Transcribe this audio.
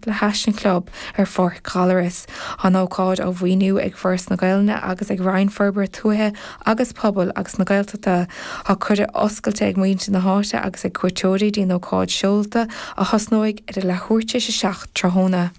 le hais an chlub ar Pháirc Ghallaras. Tá an ócáid á mhaoiniú ag Foras na Gaelainne agus ag Roinn Forbartha Tuaithe agus Pobail agus na Gaeltachta. Tá cuireadh oscailte ag muintir na háite agus ag cuairteoirí dtí an ócáid seolta a thosnóidh ar a leathuair tar éis 7 tráthnóna.